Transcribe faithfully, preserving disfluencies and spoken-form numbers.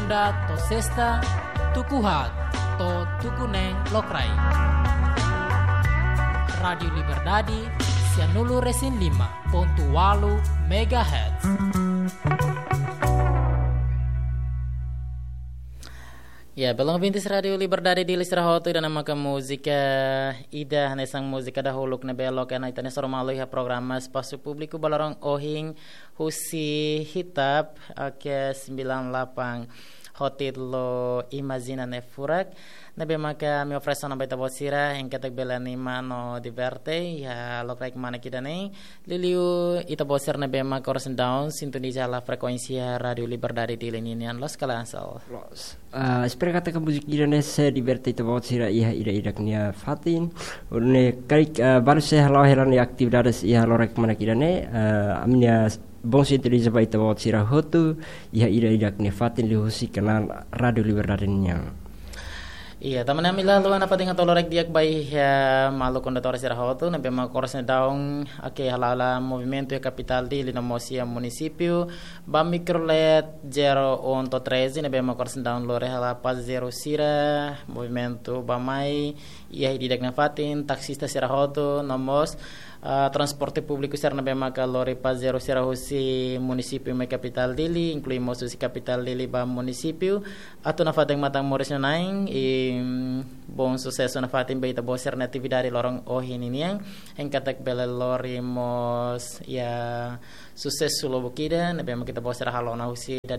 Segunda to'o sesta, tuku haat to'o tuku neen lokraik. Rádiu Liberdade, sia nulu resin lima pontu ualu megahertz. Ya, belun ouvintes Rádiu Liberdade Dili sira hotu, ida-ne'e maka múzika ida hanesan múzika dahuluk ne'ebé loke ona ita-nia soru malu iha programa Espasu Públiku ba loron ohin husi Hitap, oke, sembilan delapan, ho títulu Imajina Ne'e Furak. Ne'ebé maka ami oferese ona ba ita-boot sira, hein katak bele anima no diverte iha lokraik kmanek ida-ne'e. Liuliu ita-boot sira ne'ebé maka oras ne'e daudaun sintoniza hela frekuénsia Rádiu Liberdade Dili ninian, loos ka lae, Ansel? Loos. Ah, espera katak múzika ida-ne'e sei diverte ita-boot sira iha ida-idak nia fatin. Nune'e karik, ah, balu sei hala'o hela nia atividades iha lokraik kmanek ida-ne'e, ah, ami-nia bom sintoniza ba ita-boot sira hotu iha ida-idak nia fatin liuhusi kanál Rádiu Liberdade nian. Iya, tanba ne'e ami la haluha nafatin hato'o lorokraik di'ak ba iha maluk kondutór sira hotu ne'ebé maka oras ne'e daudaun, oke, hala'o hela movimentu iha kapitál Dili no mós iha munisípiu, ba mikrolet zero um to'o treze ne'ebé maka oras ne'e daudaun lori hela pasajeiru sira, movimentu bá-mai iha ida-idak nia fatin, taksista sira hotu, no mós, ah, transporte públiku sira ne'ebé maka lori pasajeiru sira husi munisípiu mai kapitál Dili, inklui mós husi kapitál Dili ba munisípiu. Atu nafatin matan moris nanain, i, mm, bom susesu nafatin ba ita-boot sira-nia atividade loron ohin ninian, hein katak bele lori mós, ya, susesu lubuk ida ne'ebé maka ita-boot sira halo ona husi ida